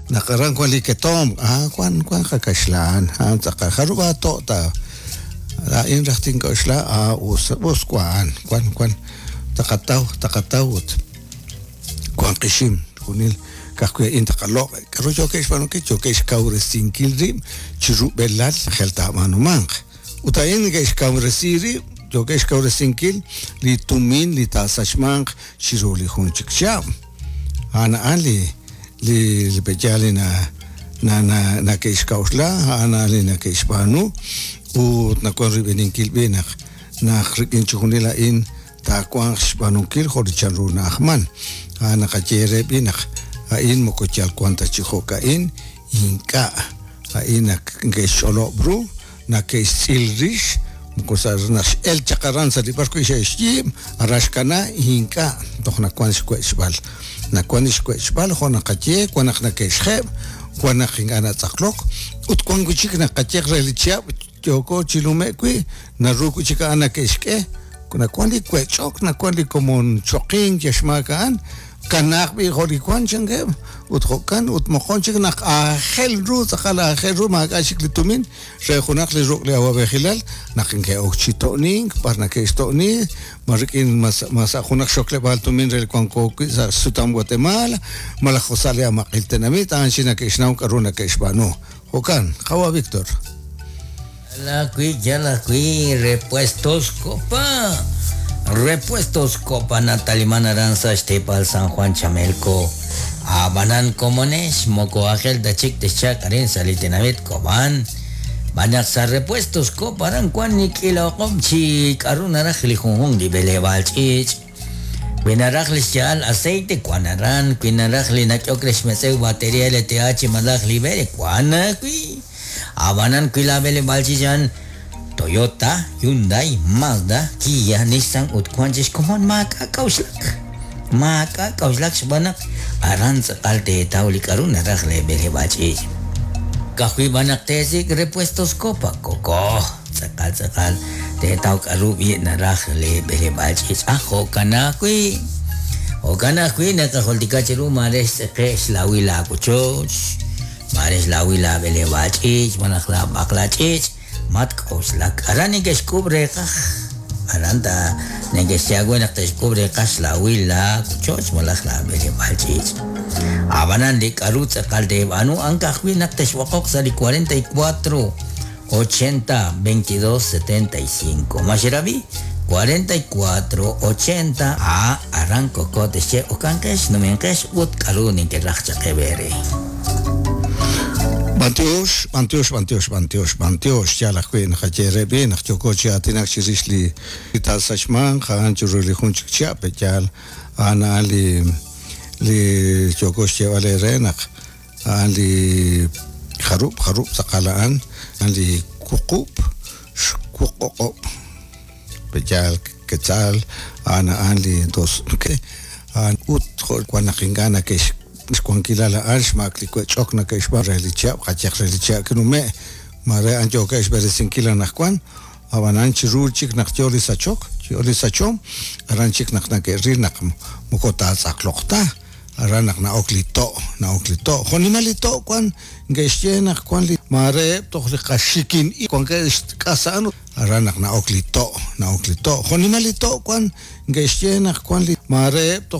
Naq aran wan li ketomq, ah, wan wan qakaxlan, a'an tz'aqal jarub' aato' ta laa'in raj tink'oxla, ah, us us wan, wan wan taqataw taqataw ut wan qixim junil ka'ajwi' a'in taqaloq'. K'aru yookeb' xb'aanunkil? Yookeb' xkawresinkil rib' chi rub'elal jel taab'aanumanq. Ut a'in neke'xkawresi rib', yookeb' xkawresinkil li tumin li taasachmanq chiru li jun chik chihab'. A'an a'an li li li pe'yaal li na na na nake'xk'a'uxla, a'an a'an li nake'xb'aanu ut nawan royb'eninkil b'i' naq naq rik'in chixjunil a'in taawanq xb'aanunkil jo' li chanru na'ajman. A'an naqaye re b'i' naq a'in moko yal wan ta chi jo'ka'in, ink'a'. A'in naq neke'xch'olob' ru, nake'xtz'il rix, moko sa' naq x'el chaq aran sa' li b'ar wi' xe'xyiib', aran xkana, ink'a', toj nawan xwech'b'al. Nawan li xwech'b'al jo' naqaye, wan naq nake'xjeb', wan naq ink'a' natz'aqlok, ut wan wi' chik naqaye re li chihab' yooko chi nume'k wi', naru wi' chik a'an nake'xk'e, nawan li wech'ok, nawan li komon choqink yal xmaak a'an, kanaaq b'i' jo' li wan chankeb', ut jo'kan ut moqon chik naq aajel ru tz'aqal aajel ru maak'a' chik li tumin re junaq li ruq' li awab'ejilal naq neke'ok chi to'nink, b'ar nake'xto'ni, ma rik'in ma sa' junaq xokleb'aal tumin re li wanko wi' sa' xsutam Guatemala, malaj jo' sa' li amaq'il tenamit, a'an chi nake'xnaw k'aru nake'xb'aanu. Jo'kan, qawa' Víctor. Yal ajwi', yal ajwi', Repuestos Copa. Repuestos Copa nataliman aran sa' xteepal San Juan Chamelco. Ab'anan komonex moko aajel ta chik texchalq arin sa' li tenamit Cobán. Xb'aan naq sa' Repuestos Copa aran wank li k'iila o'q'ob' chi k'aru naraj li junjunq li b'eleb'aal ch'iich'. Wi naraj li xya'al aceite, wank aran. Wi naraj li nak'ehok re xmetz'ew batería LTH malaj li b'e, wank ajwi'. Ab'anan wi laab'eleb'aal ch'iich a'an Toyota, Hyundai, Mazda, Kia, Nissan ut wank chik xkomon, maak'a' k'a'uxlak. Maak'a' k'a'uxlak xb'aan naq aran tz'aqal teetaw li k'aru naraj leeb'eleb'aal ch'iich'. Ka'ajwi' b'an naq teesik' repuestos Copa, Koko, tz'aqal tz'aqal teetaw k'aru b'i' naraj leeb'eleb'aal ch'iich'. Ah, jo'kan ajwi'. Jo'kan ajwi' naqajultika cheru maare xtz'eqe' xlawil laawochoch. Maare xlawil laab'eleb'aal ch'iich' malaj laab'aqla ch'iich', matk'oxlak. Aran neke'xk'ub' reeqaj. Aran ta neke'xye aawe naq te'xk'ub' reeqaj xlawil laawochoch malaj laab'eleb'aal ch'iich'. Ab'anan li k'aru tz'aqal teeb'aanu a'an ka'ajwi' naq texb'oqoq sa' li 44 80 22 75. Ma xerab'i? 44 80 A aran koko texye okanqex, numenqex ut k'aru nekeraj chaq eere. B'antiox, b'antiox, b'antiox, b'antiox, b'antiox, yaal ajwi' naqaye re b'i' naq yooko chi aatinak chirix li taasachmanq a'an chiru li jun chik chihab', pe'yaal a'an a'an li li yooko xyeeb'al eere naq A'an li jarub' jarub' tz'aqal a'an, a'an li wuqub' xwuq'oq'ob' pe'yaal quetzal, a'an a'an li dos a'an ut jo' wan naq ink'a' nake'x xwankilal a'an xmaak li wech'ok nake'xb'aan re li chihab' qayehaq re li chihab' kinume' mare a'an yookeb' xb'eresinkil anaqwan ab'anan chi ru chik naq yoo li sachok yoo li sachom aran chik naq nake'ril naq moko taatz'aqloq ta. Aran naq na'ok li to', na'ok li to'. Jo' nimal li to' wan, neke'xye naq wan li maare eb' toj li qaxikin ib' wankeb' xk'as a'an. Aran naq na'ok li to', na'ok li to'. Jo' nimal li to' wan, neke'xye naq wan li maare eb' toj.